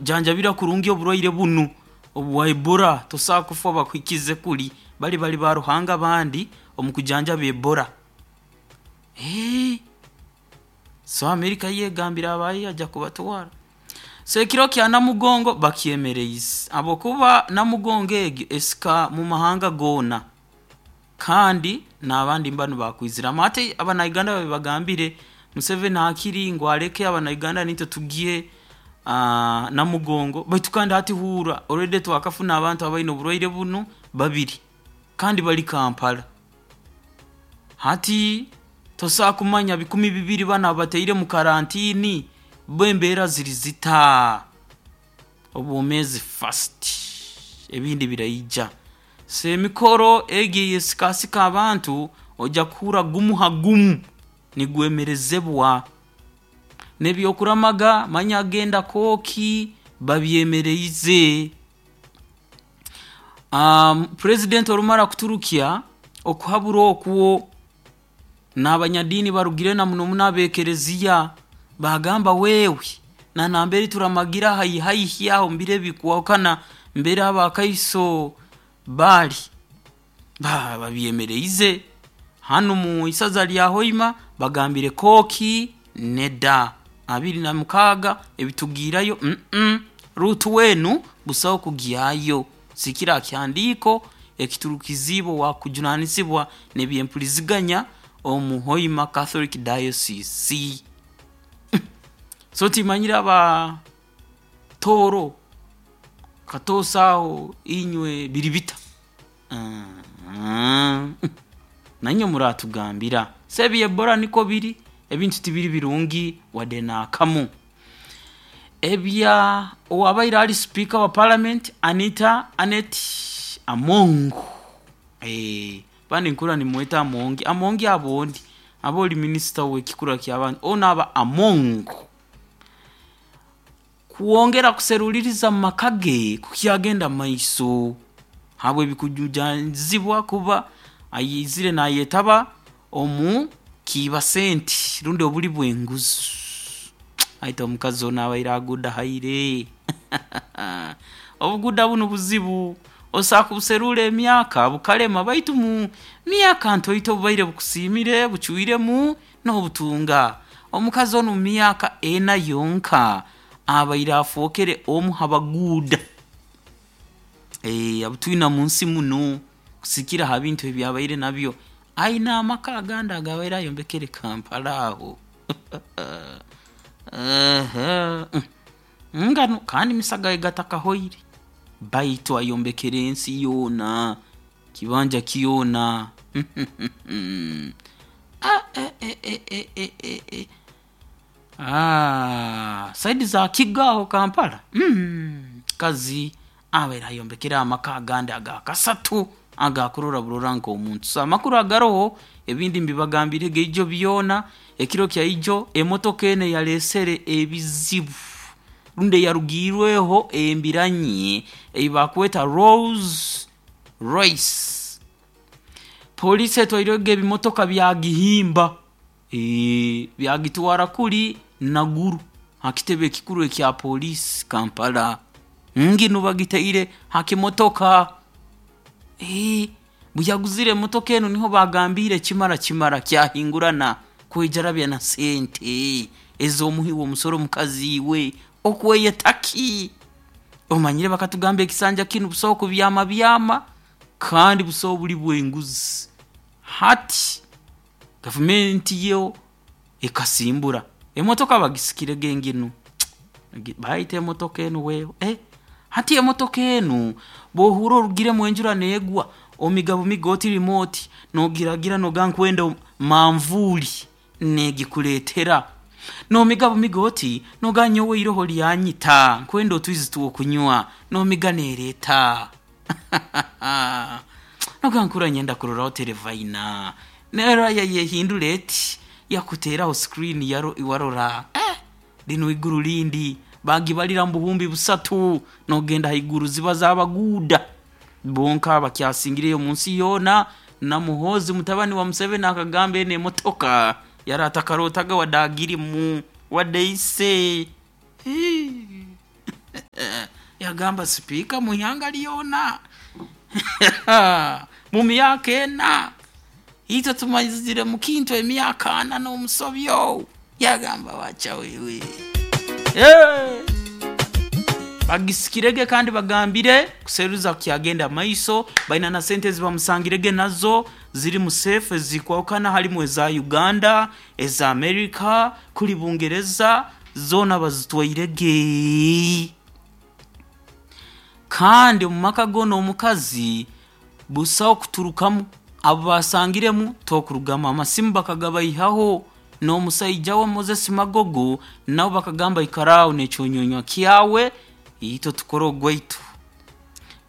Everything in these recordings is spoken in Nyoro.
Janjabira kurungi oburwaire bunu obwa Ebola, tosobola kufa bakuhikize kuli bali bali ba Ruhanga abandi omu kujanjaba Ebola. So Amerika yo egambire abayo yaija kubatwara. So ekiro kya Namugongo bakyemereize habwokuba Namugongo egi esika mu mahanga goona kandi n'abandi mbanu bakwiziramu. Hati Abanyuganda babagambire Museveni hakiri ngu aleke Abanyuganda naitwe tugye Namugongo, baitu kandi hati huura already twakafuna abantu abaine oburwaire bunu babiri kandi bali Kampala. Hati tosobola kumanya 2000 banu abataire mu karantini bo embeera ziri zita? Obwomeezi first, ebindi biraija. So emikoro egi eyesikasika abantu oija kuhuura gumu ha gumu nigwemerezebwa. N'ebyokuramaga manya genda Kooki babyemereize. Purezidenti orumara kuturukya okuhabura okwo, n'abanyadiini barugire na muno muno ab'ekereziya baagamba wewe na nambere turamagira haihi haihi aho omu biro ebikwahukana mbere abakaiso bali, babyemereize. Hanu mu isaza lya Hoima bagambire Kooki nedda, 26 ebitugiirayo ruutu enu busaho kugyayo kusigikirra ha kihandiiko ekiturukiziibwe owaakujunaanizibwa n'ebyempuriziganya omu Hoima Catholic Diocese. So timanyire aba Tooro, Katoosa aho inywe biri bita? Nainywe muratugambira. So ebya Ebola nikwo biri, ebintu tibiri birungi wadde n'akamu. Ebya owaabaire ali sipiika wa Palamenti Anita Annet Among, abandi nkuhurra nimumweta Amongi, Amongi aba ondi, aba oli minisita ow'ekikura ky'abantu, onu aba Among. Kwongera kuseruliiriza mu maka ge kukyagenda mumaiso habw'ebikujunanizibwa kuba aizire naayetaba omu kiiba sente rundi obuli bw'enguzi. Baitu omukazi onu abaire aguudahaire obuguuda bunu buzibu, osobola kubuseruura emyaka bukalema baitu mu myaka ntoito obubaire bukusiimire bucwiremu noobutunga. Omukazi onu mu myaka ena yonka abaire afookere omu ha baguuda abutwina munsi munu kusigikirra ha bintu ebi abaire nabyo. Aine amaka agandi agu abaire ayombekere Kampala aho nganu kandi misa gabaire gatakahoire baitu ayombekere ensi yoona, kibanja kyona. Saidi za Kigo aho Kampala, mukazi abaire ayombekere amaka agandi aga kasatu agakurora burora nk'omuntu. So amakuru agaroho ebindi mbibagambirege ijo byona, ekiro kya ijo emotoka enu eyaleesere ebizibu rundi eyarugiirweho embiranyi ei bakweta Rolls Royce, poliisi etwairege ebimotoka byagihimba byagitwara kuri Naguru ha kitebe ekikuru ekya poliisi Kampala. Nginu bagitaire ha kimotoka. Obu yaguzire emotoka enu niho baagambiire kimara kimara kyahingurana kwejarabya na sente ez'omuhi w'omusoro mukazi iwe okweyeta ki? Omanyire bakatugamba ekisanja kinu busaho kubyamabyama kandi busaho buli bw'enguzi. Hati gavumenti yo ekasimbura, emotoka bagisikirege nginu baitu emotoka enu wewe, hati emotoka enu bw'ohuurra orugiremu enjura neegwa, omiga bumige oti remote noogiragira noogamba nkwenda manvuuli neegikuleetera. Noomiga bumiga oti noogamba nyowe iroho lyanyita nkwenda otwizi tw'okunywa, noomiga neereeta. Noogamba nkuhurra niinyenda kuroraho Terefayina, nerora yayehindura eti, yakuteeraho screen warora, linu iguru lindi, baagibalira mu buhumbi busatu noogenda haiguru ziba z'abaguuda bonka abakyasingireyo omunsi yoona. Na Muhoozi mutabani wa Museveni akagamba enu emotoka yari atakarootaga wadde agirimu wadde ise. Yagamba sipiika mu ihanga lyona mu myaka 4, itwe tumazire mu kintu emyaka 4 n'omusobyo. Yagamba wacha wewe. Hey! Bagisikirege kandi bagambire kuseruza kyagenda maiso, baina na sente zibamusangirege nazo ziri mu safe zikwawukana, halimu eza Uganda, eza America, kuli Bungereza, zona bazitwairege. Kandi omu maka goona omukazi busaho kuturukamu, abo basangiremu tokurugamu, amasimu bakagabaihaho n'omusaija we Moses Magogo nabo bakagamba ikaraaho n'ekyonyonywa kyawe itwe tukore ogwaitu.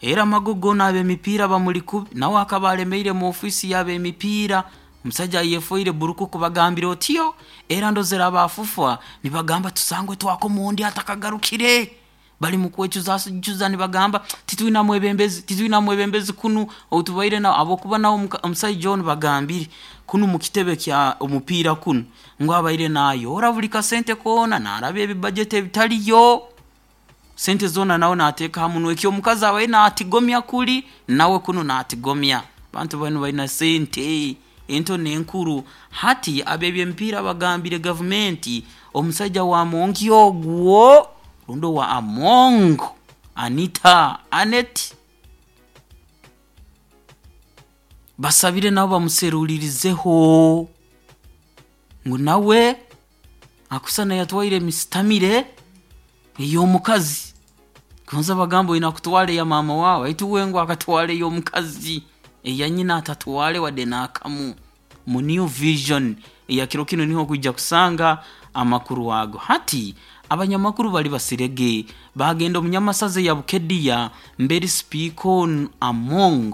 Era Magogo n'ab'emipiira bamuli kubi, nawe akaba alemeire mu ofiisi y'ab'emipiira, omusaija ayefoire burukuku bagambire otyo, era ndozere abafufa nibagamba tusangwe twakoma ondi atakagarukire. Bali mu kwecuzacuza nibagamba titwina mwebembezi, titwina mwebembezi kunu otubaire na abokuba nawe omusaija onu bagambire kunu mu kitebe kya omupiira kunu ngu abaire naayora buli kasente koona naaraba ebibajeti ebitaliyo, sente zoona nawe naateeka ha munwa. Eki omukazi abaire naatigomya kuri nawe kunu naatigomya. Abantu banu baina sente ento n'enkuru. Hati ab'ebyemipiira bagambire gavumenti omusaija wa Amongi ogwo rundi owa Among Anita Anet basabire nabo bamuserulirizeho ngu nawe akusana yatwaire emisitamire ey'omukazi. Gonza bagamba oina kutwara eya maama wawe, baitu we ngu akatwara ey'omukazi, eya nyina atatwale wadde n'akamu. Mu New Vision eya kiro kinu niho okwija kusanga amakuru ago. Hati abanyamakuru bali basirege bagenda omu Nyamasaza eya Bukedia mberi sipiika onu Among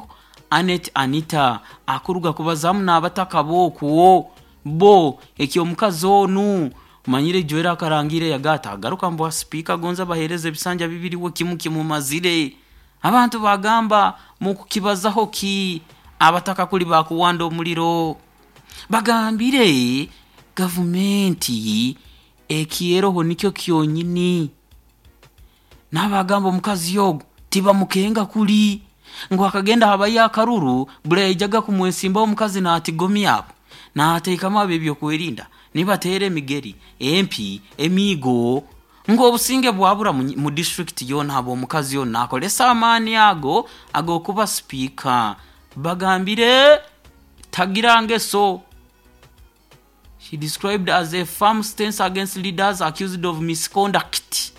Anet Anita akuruga kubazamu n'abataka b'okwo bo eky'omukazi onu manyire ijwera akarangire yagata agaruka mbwa sipiika gonza bahereza ebisanja bibiri we kimu kimumazire. Abantu bagamba mukukibazaho ki abataka kuli bakuwanda omuliro. Bagambire gavumenti ekyeroho nikyo kyonyini. N'abagamba omukazi ogu tibamukenga kuli ngu akagenda habayo akaruru buli yaijaga kumwesimbaho omukazi naatigomya abo naateekamu ab'ebyokwerinda nibateera emigeri, empi, emiigo ngu obusinge bwabura mu disitulikiti yoona habw'omukazi onu naakozesa amaani ago ag'okuba sipiika. Bagambire tagira ngeso. She described as a firm stance against leaders accused of misconduct.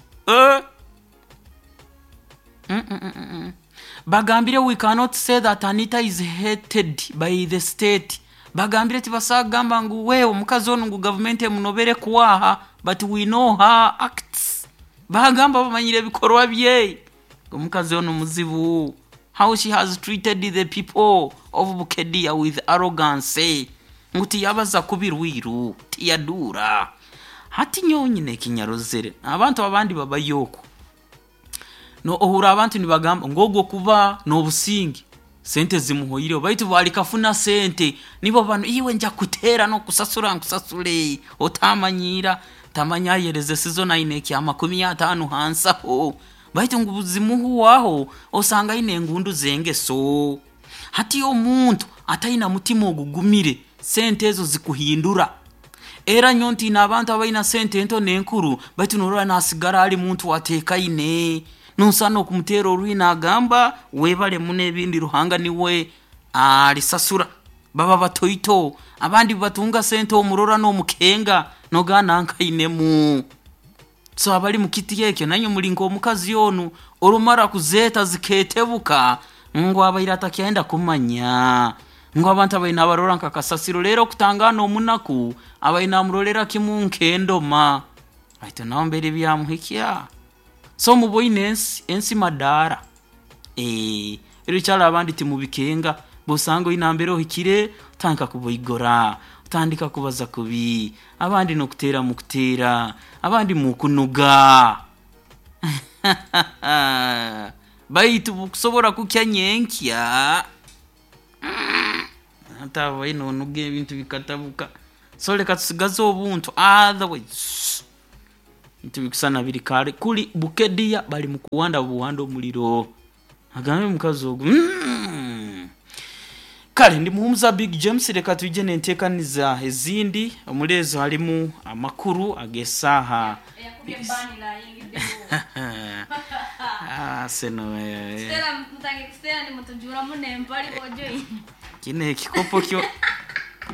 Bagambire we cannot say that Anita is hated by the state. Bagambire tibasagamba ngu we omukazi onu ngu gavumenti emunobere kwaha, but we know her acts. Bagamba bamanyire ebikorwa bye. Omukazi onu muzibu. How she has treated the people of Bukedia with arrogance. Ngu tiyabaza kubi rwiru, tiyaduura. Hati nyowe nyine ekinyarozere abantu abandi babayo okwo. No ohura abantu nibagamba ngu ogwo kuba n'obusinge sente zimuhoireho, baitu balikafuna sente nibo banu iwe nja kuteera n'okusasura nkusasule otamanyira tamanya ayereze sizo aine ekya 50 hansaho, baitu ngu zimuhwaho osanga aine engundu z'engeso. Hati omuntu ataina mutima ogugumire sente ezo zikuhindura. Era nyowe ntiina abantu abaina sente ento n'enkuru, baitu norora nasigara ali muntu ateekaine. Nosana okumuteera oruhi naagamba webale muno ebindi Ruhanga niwe alisasura. Baba batoito, abandi batunga sente omurora n'omukenga nogaa nankainemu. So abali mu kiti ekyo nainywe muli nk'omukazi onu orumara kuzeeta zikeetebuka ngu abaire atakyenda kumanya ngu abantu abaire nabarora nka kasasiro. Rero okutangana omunaku abaire namurorera kimu nk'endoma, baitu nawe mbere byamuhikya. So muboine ensi, ensi madaara. Erikyaro abandi timubikenga, bw'osanga oine mbere ohikire otandika kuboigora, otandika kubaza kubi, abandi n'okuteera mukuteera, abandi mukunuga. Baitu bukusobora kukya nyenkya ate nonuga ebintu bikatabuka. So leka tusigaze obuntu otherwise. Ntibikusana biri kale kuli Bukedia bali mukuwanda buwanda omuliro. Agambe mukazi ogu. Kale ndi muhumuza Big James, leka twije nentekaniza ezindi omuli ezo halimu amakuru ag'esaaha. Ah, seno kino ekikopo kyo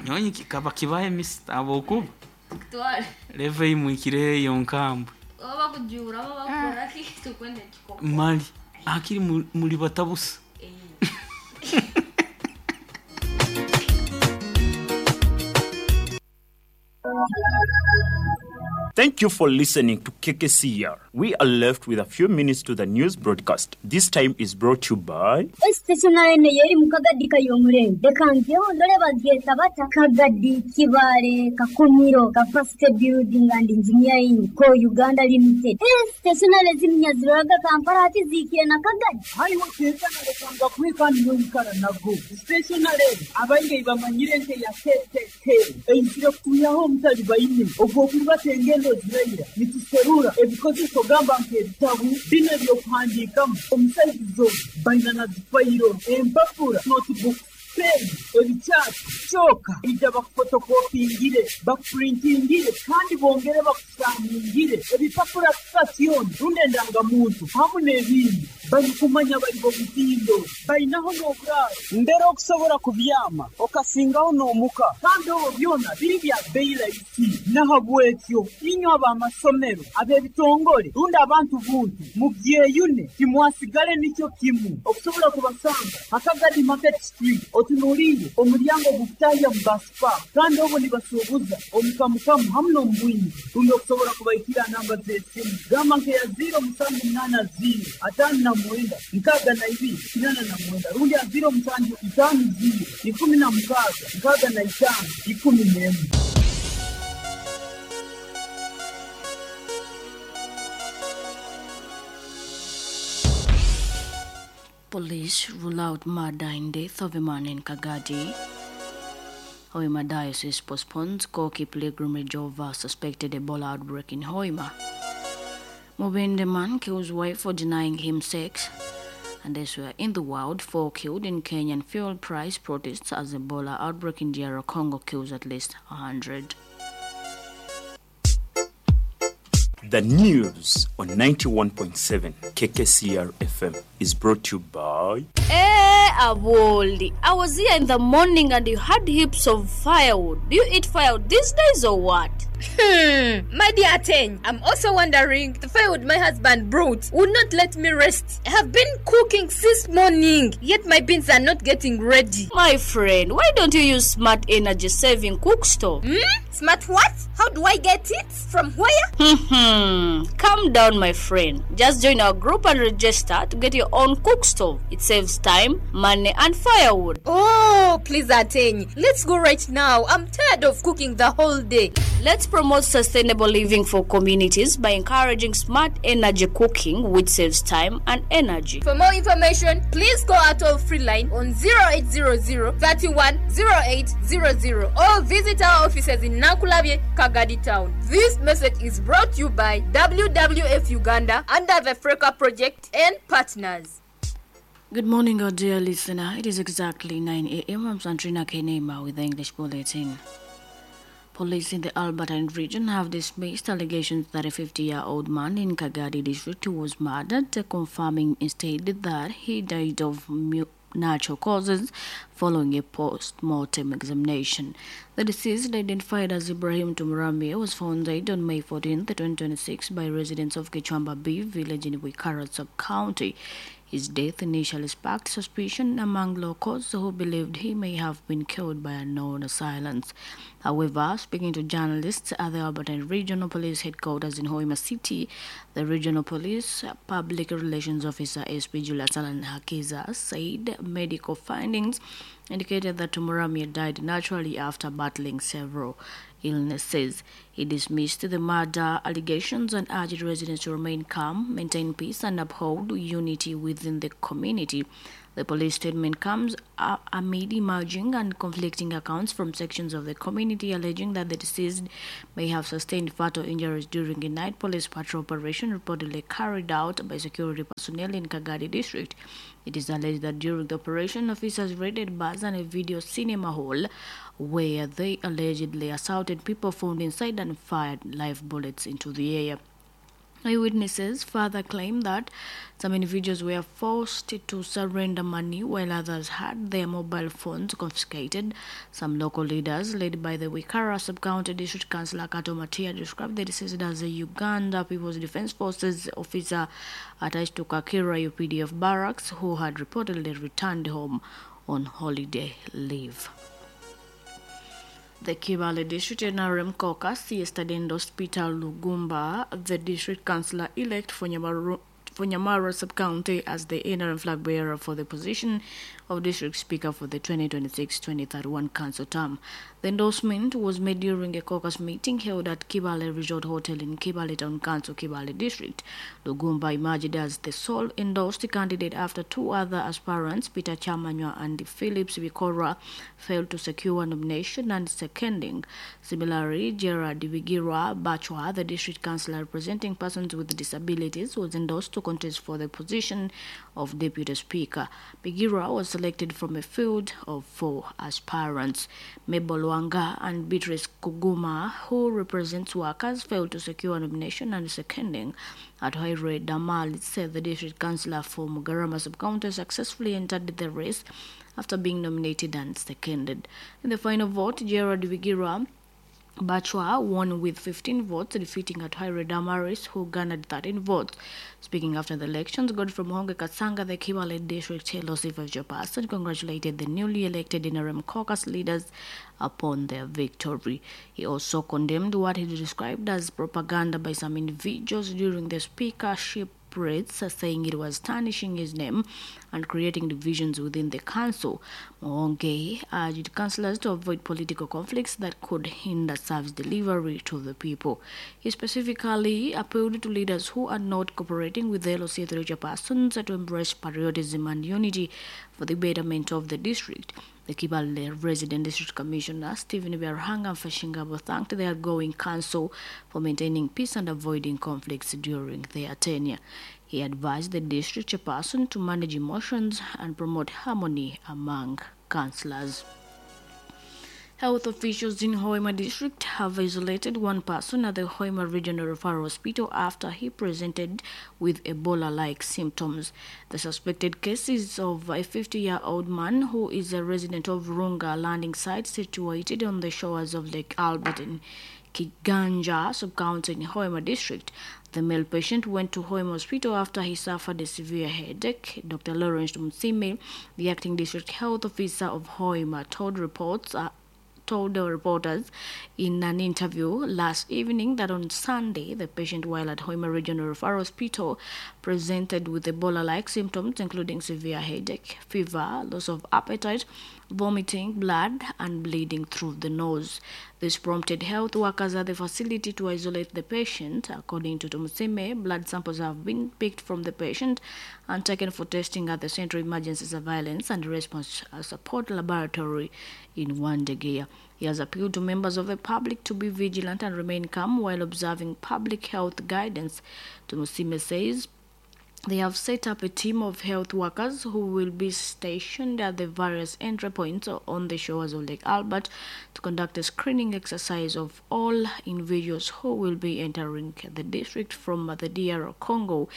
nyonyi kikaba kibahe misita abokuba leve imwikire eyo nkambwe mali akiri muli batabusa. Thank you for listening to KKCR. We are left with a few minutes to the news broadcast. This time is brought to you by Stationary yeri mu Kagadi kayomurembe reka ngeho ndore babyeta bata Kagadi Kibale Kakumiro Capacity Building and Engineering ko Uganda Limited. Stationary zimnyaziroraga Kampala hati zikire na Kagadi. Hariho keza narekanga kwika niyoyikara nago stationary abaingi bamanyire nke ya KKK eizire kuyaho omutali baine ogwo kubatenge engendo ziraira nituserura ebikozeso gamba nk'ebitabu bino ebyokuhandiikamu omusaizizo baina na zifayiro empapura notebook pen ebikyati kyoka ija bakufotokopingire bakupurintingire kandi bongere bakusaningire ebipapura sitasioni rundi endangamuntu hamu n'ebindi barikumanya bari bomutindo bainaho n'oburaaro mbere okusobora kubyama okasingaho n'omuka kandi obwo byona biri bya bei rahisi. Nahabwekyo inywe ab'amasomero ab'ebitongole rundi abantu buntu mubyeyune timwasigale nikyo kimu okusobola kubasanga Akagadi Market Street otunuliire omulyango gukutahya mu baspa kandi obwo nibasuubuza omukamukamu hamu n'omubwingi rundi okusobola kubaikira namba z'esimu gamba nkeya 0780 59 62 89 rundi ya 0750 16 65 11. Police rule out murder in death of a man in Kagadi. Hoima Diocese postpones Koki pilgrimage over suspected Ebola outbreak in Hoima. Mubende man kills wife for denying him sex. And elsewhere in the world, 4 killed in Kenyan fuel price protests as Ebola outbreak in DR Congo kills at least 100. The news on 91.7 KKCR FM is brought to you by Aboli. I was here in the morning and you had heaps of firewood. Do you eat firewood these days or what? My dear Teng, I'm also wondering, the firewood my husband brought would not let me rest. I have been cooking since morning, yet my beans are not getting ready. My friend, why don't you use smart energy saving cook stove? Smart what? How do I get it? From where? Calm down, my friend. Just join our group and register to get your own cook stove. It saves time, money, and firewood. Oh, please, Ateng. Let's go right now. I'm tired of cooking the whole day. Let's promote sustainable living for communities by encouraging smart energy cooking, which saves time and energy. For more information, please call our toll-free line on 0800 31 0800 or visit our offices in Nankulabye, Kagadi Town. This message is brought to you by WWF Uganda under the Freka Project and partners. Good morning, our dear listener. It is exactly 9 a.m. I'm Santrina Kenema with the English Bulletin. Police in the Albertine region have dismissed allegations that a 50-year-old man in Kagadi district was murdered, confirming instead that he died of natural causes following a post-mortem examination. The deceased, identified as Ibrahim Tumurami, was found dead on May 14, 2026 by residents of Kichwamba B village in Wikara sub-county. His death initially sparked suspicion among locals who believed he may have been killed by unknown assailants. However, speaking to journalists at the Albertine Regional Police Headquarters in Hoima City, the Regional Police Public Relations Officer SP Julius Alan Hakiza said medical findings indicated that Tumuramye died naturally after battling several illnesses. He dismissed the murder allegations and urged residents to remain calm, maintain peace, and uphold unity within the community The police statement comes amid emerging and conflicting accounts from sections of the community alleging that the deceased may have sustained fatal injuries during a night police patrol operation reportedly carried out by security personnel in Kagadi district. It is alleged that during the operation, officers raided bars and a video cinema hall where they allegedly assaulted people found inside and fired live bullets into the air. Eyewitnesses further claim that some individuals were forced to surrender money while others had their mobile phones confiscated. Some local leaders, led by the Wikara Sub-County District Councillor Kato Matia, described the deceased as a Uganda People's Defense Forces officer attached to Kakira UPDF barracks who had reportedly returned home on holiday leave. The Kibale District NRM Caucus yesterday endorsed Peter Lugumba, the district councillor-elect for Nyamara Sub-County, as the NRM flag bearer for the position of district speaker for the 2026-2031 council term. The endorsement was made during a caucus meeting held at Kibale Resort Hotel in Kibale Town Council, Kibale District. Lugumba emerged as the sole endorsed candidate after two other aspirants, Peter Chamanywa and Phillips Bikora, failed to secure nomination and seconding. Similarly, Gerard Bigira Bachwa, the district councillor representing persons with disabilities, was endorsed to contest for the position of deputy speaker. Bigira was selected from a field of 4 aspirants. Mabel Wanga and Beatrice Kuguma, who represents workers, failed to secure nomination and seconding. Atohaire Damal said the district councillor for Mugarama Sub-County successfully entered the race after being nominated and seconded. In the final vote, Gerard Bigira Bachwa won with 15 votes, defeating Atohaire Damaris, who garnered 13 votes. Speaking after the elections, Godfrey Muhonge Katsanga, the Kibale District LC5 chairperson, congratulated the newly elected NRM caucus leaders upon their victory. He also condemned what he described as propaganda by some individuals during the speakership rates, saying it was tarnishing his name and creating divisions within the council. Muhonge urged councillors to avoid political conflicts that could hinder service delivery to the people. He specifically appealed to leaders who are not cooperating with the LOC3 chairpersons to embrace patriotism and unity for the betterment of the district. The Kibale Resident District Commissioner, Stephen Berhanga Fashingabo, thanked the outgoing council for maintaining peace and avoiding conflicts during their tenure. He advised the district chairperson to manage emotions and promote harmony among councillors. Health officials in Hoima district have isolated one person at the Hoima Regional Referral Hospital after he presented with Ebola-like symptoms. The suspected case is of a 50-year-old man who is a resident of Runga landing site situated on the shores of Lake Albert in Kiganja sub-county in Hoima district. The male patient went to Hoima Hospital after he suffered a severe headache. Dr. Lawrence Msime, the acting district health officer of Hoima, told the reporters in an interview last evening that on Sunday, the patient, while at Hoima Regional Referral Hospital, presented with Ebola-like symptoms, including severe headache, fever, loss of appetite, vomiting, blood, and bleeding through the nose. This prompted health workers at the facility to isolate the patient. According to Tomusime, blood samples have been picked from the patient and taken for testing at the Central Emergency Surveillance and Response Support Laboratory in Wandegeya. He has appealed to members of the public to be vigilant and remain calm while observing public health guidance. Tomusime says they have set up a team of health workers who will be stationed at the various entry points on the shores of Lake Albert to conduct a screening exercise of all individuals who will be entering the district from the DR Congo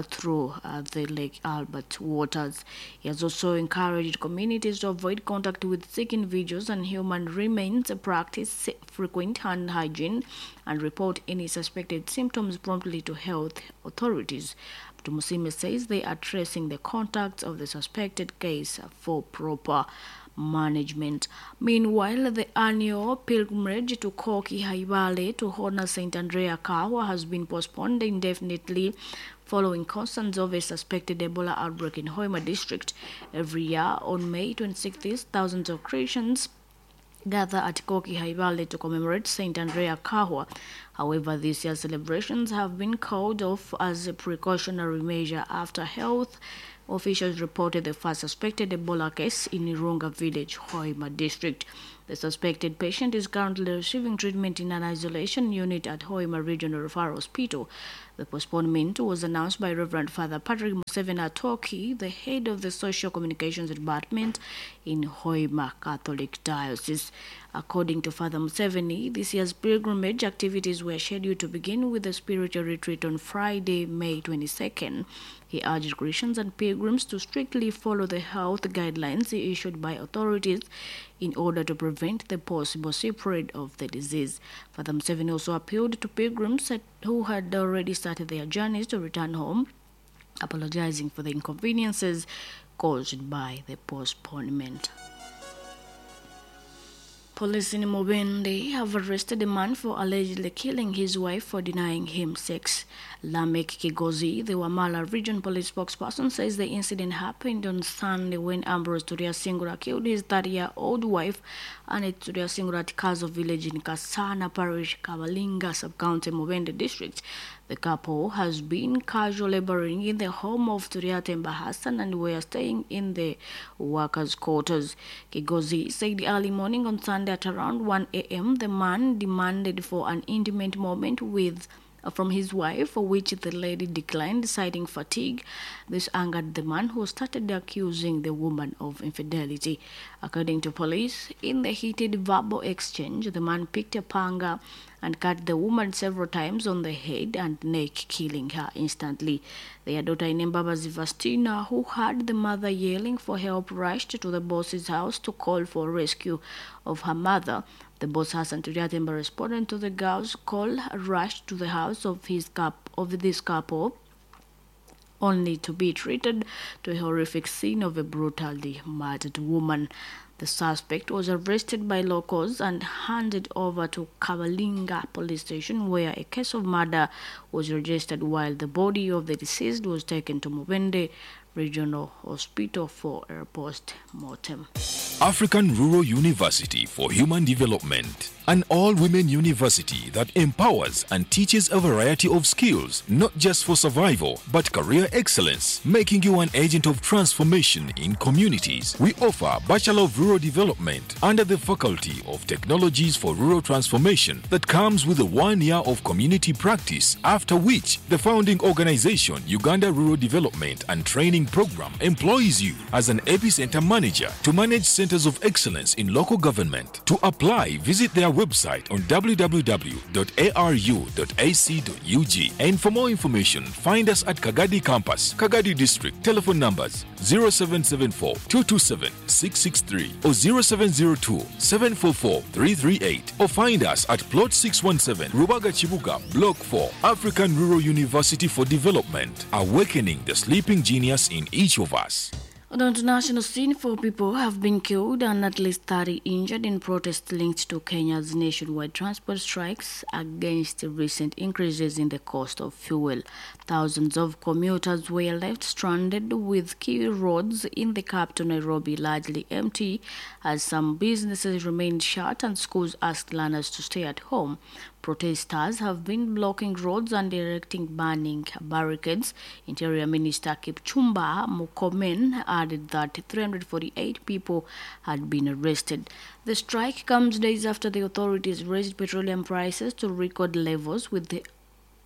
through the Lake Albert waters. He has also encouraged communities to avoid contact with sick individuals and human remains, practice frequent hand hygiene, and report any suspected symptoms promptly to health authorities. Tumusime says they are tracing the contacts of the suspected case for proper management. Meanwhile, the annual pilgrimage to Koki Haibale to honor St. Andrea Kawa has been postponed indefinitely following concerns of a suspected Ebola outbreak in Hoima district. Every year on May 26th, thousands of Christians gather at Koki Haibale to commemorate St. Andrea Kahwa. However, this year's celebrations have been called off as a precautionary measure after health officials reported the first suspected Ebola case in Irunga village, Hoima district. The suspected patient is currently receiving treatment in an isolation unit at Hoima Regional Referral Hospital. The postponement was announced by Reverend Father Patrick Museveni Atoki, the head of the Social Communications Department in Hoima Catholic Diocese. According to Father Museveni, this year's pilgrimage activities were scheduled to begin with a spiritual retreat on Friday, May 22nd. He urged Christians and pilgrims to strictly follow the health guidelines issued by authorities in order to prevent the possible spread of the disease. Father Museveni also appealed to pilgrims who had already started their journeys to return home, apologizing for the inconveniences caused by the postponement. Police in Mubende have arrested a man for allegedly killing his wife for denying him sex. Lamek Kigozi, the Wamala Region Police spokesperson, says the incident happened on Sunday when Ambrose Turyasingura killed his 30-year-old wife, Annette Turyasingura, at Kazo village in Kasana Parish, Kabalinga sub-county, Mubende district. The couple has been casual laboring in the home of Turyatemba Hassan and were staying in the workers' quarters. Kigozi said early morning on Sunday at around 1 a.m., the man demanded for an intimate moment with from his wife, for which the lady declined, citing fatigue. This angered the man, who started accusing the woman of infidelity. According to police, in the heated verbal exchange, the man picked a panga and cut the woman several times on the head and neck, killing her instantly. Their daughter Inembabazi Vastina, who heard the mother yelling for help, rushed to the boss's house to call for rescue of her mother. The boss Hassan Turyatemba responded to the girl's call, rushed to the house of this couple, only to be treated to a horrific scene of a brutally murdered woman. The suspect was arrested by locals and handed over to Kabalinga police station, where a case of murder was registered, while the body of the deceased was taken to Mubende Regional Hospital for a post-mortem. African Rural University for Human Development, an all-women university that empowers and teaches a variety of skills, not just for survival, but career excellence, making you an agent of transformation in communities. We offer Bachelor of Rural Development under the Faculty of Technologies for Rural Transformation that comes with a 1 year of community practice, after which the founding organization, Uganda Rural Development and Training Program, employs you as an epicenter manager to manage centers of excellence in local government. To apply, visit their website on www.aru.ac.ug, and for more information, find us at Kagadi Campus, Kagadi District. Telephone numbers 0774 227 663 or 0702 744 338, or find us at Plot 617, Rubaga Chibuga, Block 4, African Rural University for Development, awakening the sleeping genius in each of us. On the international scene, 4 people have been killed and at least 30 injured in protests linked to Kenya's nationwide transport strikes against recent increases in the cost of fuel. Thousands of commuters were left stranded, with key roads in the capital Nairobi largely empty, as some businesses remained shut and schools asked learners to stay at home. Protesters have been blocking roads and erecting burning barricades. Interior Minister Kipchumba Murkomen added that 348 people had been arrested. The strike comes days after the authorities raised petroleum prices to record levels, with the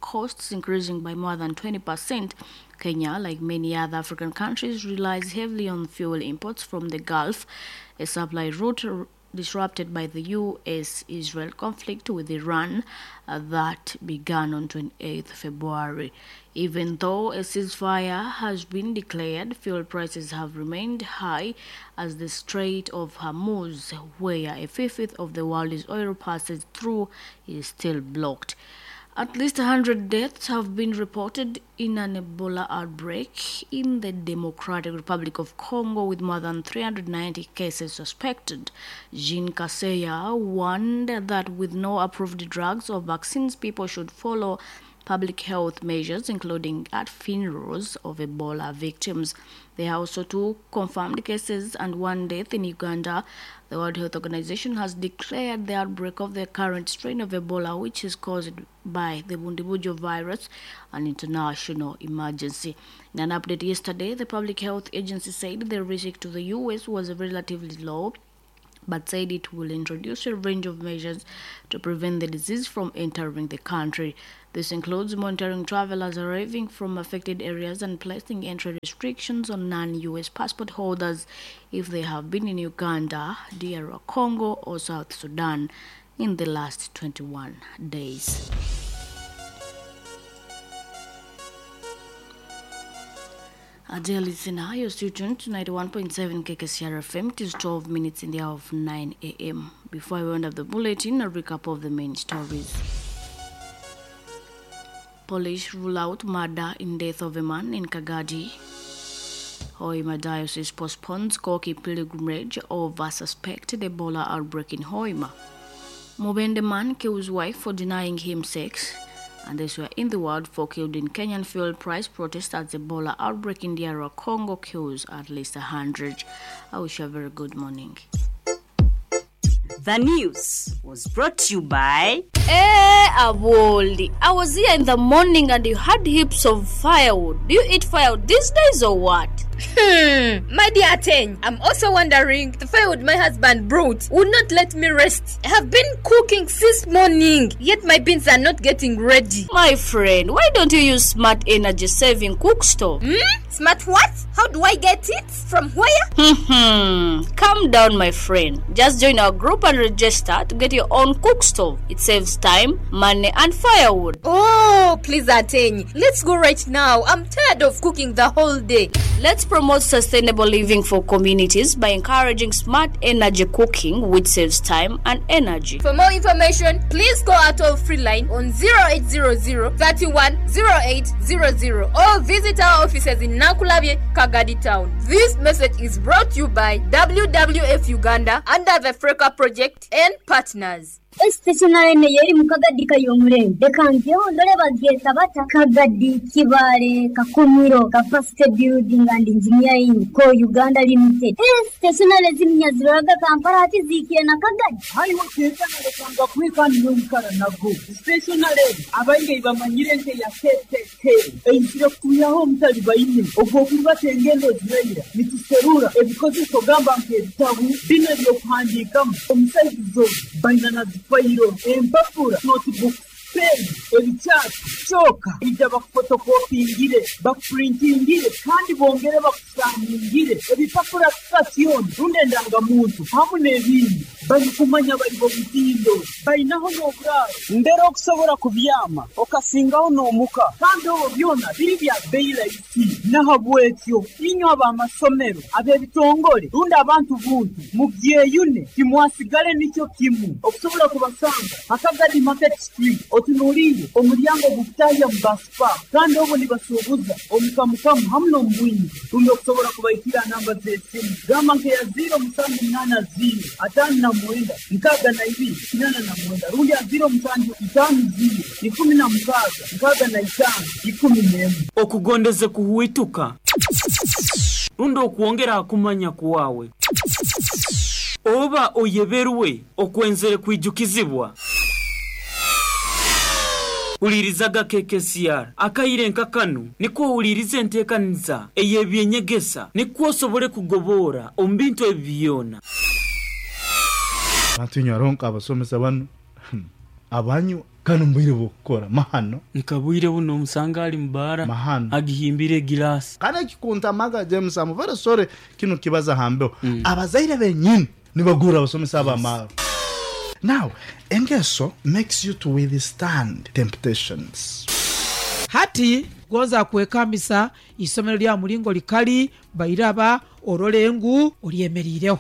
costs increasing by more than 20%. Kenya, like many other African countries, relies heavily on fuel imports from the Gulf, a supply route disrupted by the U.S.-Israel conflict with Iran that began on 28 February. Even though a ceasefire has been declared, fuel prices have remained high as the Strait of Hormuz, where a fifth of the world's oil passes through, is still blocked. At least 100 deaths have been reported in an Ebola outbreak in the Democratic Republic of Congo, with more than 390 cases suspected. Jean Kaseya warned that with no approved drugs or vaccines, people should follow public health measures, including at funerals of Ebola victims. There are also 2 confirmed cases and 1 death in Uganda. The World Health Organization has declared the outbreak of the current strain of Ebola, which is caused by the Bundibugyo virus, an international emergency. In an update yesterday, the Public Health Agency said the risk to the U.S. was relatively low, but said it will introduce a range of measures to prevent the disease from entering the country. This includes monitoring travelers arriving from affected areas and placing entry restrictions on non-U.S. passport holders if they have been in Uganda, DR Congo, or South Sudan in the last 21 days. Dear listener, you're still tuned to 91.7 KKCR FM. It is 12 minutes in the hour of 9 a.m. Before I round up the bulletin, a recap of the main stories. Police rule out murder in death of a man in Kagadi. Hoima Diocese postpones Koki pilgrimage over suspected Ebola outbreak in Hoima. Mubende man kills wife for denying him sex. And these were in the world. 4 killed in Kenyan fuel price protest as Ebola outbreak in DR Congo kills at least 100. I wish you a very good morning. The news was brought to you by... Hey, Aboli, I was here in the morning and you had heaps of firewood. Do you eat firewood these days or what? My dear Ateng, I'm also wondering, the firewood my husband brought would not let me rest. I have been cooking since morning, yet my beans are not getting ready. My friend, why don't you use smart energy saving cook stove? Smart what? How do I get it? From where? Calm down, my friend. Just join our group and register to get your own cook stove. It saves time, money, and firewood. Oh, please, Ateng. Let's go right now. I'm tired of cooking the whole day. Let's promote sustainable living for communities by encouraging smart energy cooking, which saves time and energy. For more information, please call our toll-free line on 0800 31 0800 or visit our offices in Nakulabye, Kagadi Town. This message is brought to you by WWF Uganda under the Freka Project and partners. Stationary yeri mu Kagadi kayomurembe reka ngeho ndore babyeta bata Kagadi Kibale Kakumiro Capacity Building and Engineering ko Uganda Limited. Stationary zimnyaziroraga Kampala ati zikiye na Kagadi hariho kekana kwikani yomukara nago stationary abainge bamanyire nke ya KKK einzire kuyaho mutali baine ogwo kubatengendo zirayira nituserura ebikozeso gamba nke ebitabu bino ebyokuhandiikamu omusaizi baina fayiro empapura notebook pen ebikyati kyoka ija bakufotokopingire bakupurintingire kandi bongere bakusaningire ebipapura sitasioni rundi endangamuntu hamu n'ebindi barikumanya bari bomutindo bainaho n'oburaro mbere okusobora kubyama okasingaho n'omuka kandi obwo byona biri bya beyi rahisi nahabwekyo inywe ab'amasomero ab'ebitongole rundi abantu buntu mubyeyune timwasigale nikyo kimu okusobola kubasanga Akagadi Market Street otunuulire omulyango gukutahya mu baspa kandi obwo nibasuubuza omukamukamu hamu n'omubwingi rundi okusobola kubaikira namba z'esimu gamba nkeya 0780 59 62 89 rundi ya 0750 16 65 11. Okugondeze kuhuituka rundi okuongera kumanya kuwawe oba oyeberwe okwenzere kwijukizibwa. Ulirizaga KKCR akaire nkakanu niko ulirize enteekaniza ey'ebyenyegesa niko osobole kugobora omu bintu ebyona. Abantu nyaronka abasomesa bano abanyu kano mbwire bukora mahano nkabwire buno omusanga ali mubara agihimbire gilasi kana kikunta maga James am very sorry kino kibaza hambeho. Abazaire benyini nibagura abasomesa abamaro. Now, engeso makes you to withstand temptations. Hati gonza kwekambisa isomero lya mulingo likali bairaba orolengu olyemerireho.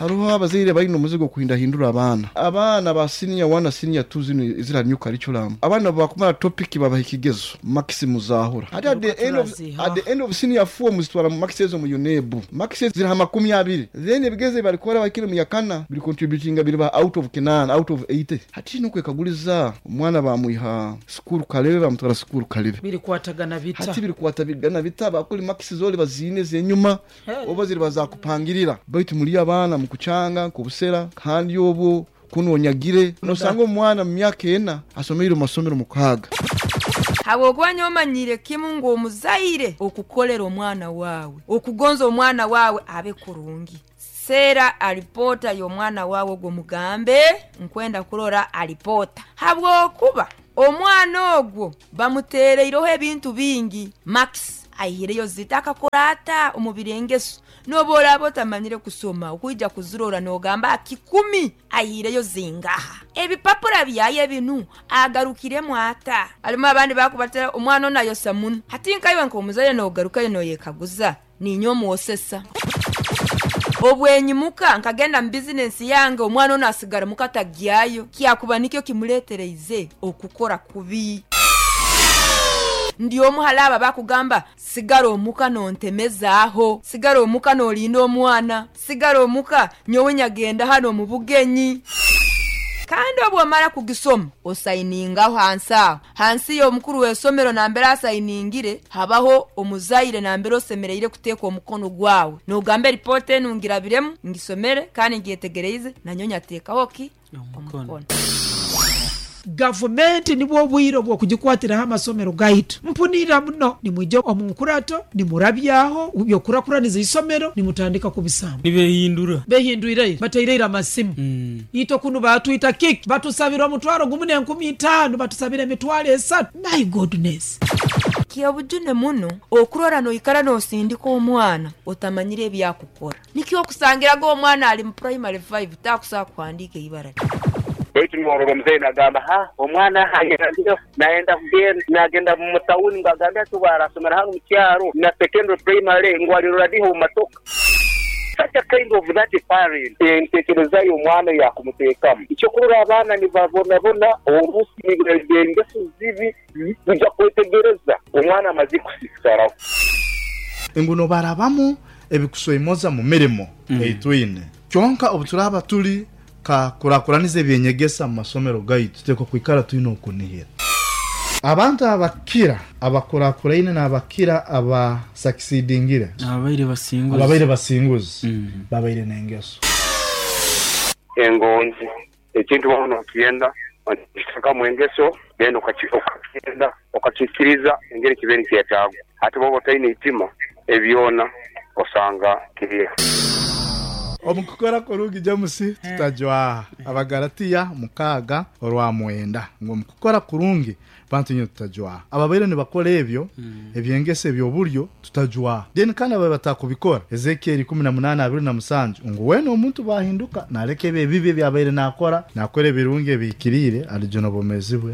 Hariho abazaire balina omuzigo okuhindahindura abaana. Abaana ba senior 1 na senior 2 zinu eziri ha new curriculum, abaana bakumara topic babaha ekigezo, marks muzahura. Hati at the end of, at the end of senior 4 muzitwara marks ezo mu UNEB. Marks ezo ziri ha 20. Then ebigezo ebibarikora bahikire mu yakana biri contributinga biriba out of kinaana, out of 80. Hati twine okwekaguliza omwana bamwiha sukuru Kalebe bamutwara sukuru Kalebe. Birikwatagana bita? Hati birikwatagana bita? Bakuli marks zoli baziine ezenyuma oba ziriba zakupangirira. Baitu muri abaana mukukyanga nk'obusera kandi obwo kunu onyagire. Nosanga omwana mu myaka ena asomeire omu masomero mukaaga. Habwokuba nyowe manyiire kimu ngu omuzaire okukolera omwana waawe, okugonza omwana waawe abe kurungi. Seera alipoota y'omwana waawe ogwo mugambe nkwenda kurora alipoota habwokuba omwana ogwo bamuteereireho ebintu bingi. Max aihireyo zita akakora ata omu birengeso? N'obu oraaba otamanyire kusoma okwija kuzirora n'ogamba kikumi aihireyo zingaha? Ebipapura byayo ebinu agarukiremu ata? Harimu abandi bakubatera omwana onu ayosa muno. Hati nkaiwe nk'omuzaire n'ogarukayo n'oyekaguza ninye omwosesa. Obwenyimuka nkagenda mu bizinensi yange omwana onu asigara muka tagyayo kyakuba nikyo kimuletereize okukora kubi. Ndi omu hali abo abakugamba sigara omuka nontemezaaho, sigara omuka nolinda omwana, sigara omuka nyowe nyagenda hanu omu bugenyi. Kandi obwomara kugisoma osainingaho hansi aho. Hansi y'omukuru w'esomero nambere asainingire habaho omuzaire nambere osemereire kuteeka omukono gwawe nogamba eripoota enu ngirabiremu, ngisomere kandi ngyetegereize nanyowe nyateekaho ki? Omukono. Gavumenti nibwo obwire obw'okugikwatiraho amasomero gaitu. Mpunirira muno nimwija omu nkurato nimurabyaho by'okukurakuraniza eisomero nimutandika kubisamba. Nibehindura. Behindwire ira, bataire ira amasimu. Itwe kunu baatwita kiki? Batusabire omutwaro gumu n'enkumi itaano, batusabire emitwaro esatu. My goodness! Ky'obujune muno okurora noikara nosindika omwana otamanyire ebi akukora. Nikyo okusangiraga omwana ali mu primary five takusobola kuhandiika eibara lye. Baitu norora omuzaire nagamba, ha, omwana ayerangireho nayenda kugenda, nagenda mu tawuni ngu agambe ati obu arasomera hanu mu kyaro na secondary primary ngu alirora diha omu matoka. Such a kind of that parent, entekereza y'omwana eyakumuteekamu. Ekyokurora abaana nibabonabona orusi engeso zibi kwija kwetegereza omwana amazire kusisikaraho. Ngu nobarabamu ebikusweimoza mu mirimo ei twine. Kyonka obu turaaba turi ka kurakuraniza eby'enyegesa mu masomero gaitu, tuteekwa kwikara twine okunihira. Abantu abakira abakurakuraine n'abakira abasakisidingire, Ababaire basinguzi. ababaire basinguzi, babaire n'engeso. Engonzi. Ekintu waaba nokyenda, okiteekamu engeso, then okakyenda, okakiikiriza engeri kibaire nikyetaagwa. Hati bwoba otaine itima, ebyo byona osanga kiriho. Omu kukora kurungi James tutajwaha. Abagalatiya 6:9 ngu omu kukora kurungi Bantu inywe tutajwaha. Ababaire nibakora ebyo eby'engeso eby'oburyo tutajwaha. Then kandi ababaire batakubikora, Ezekieli 18:27 ngu weena omuntu bwahinduka naleka ebyo ebibi ebi abaire nakora, nakora ebirungi ebihikiriire, alijuna obwomeezi bwe.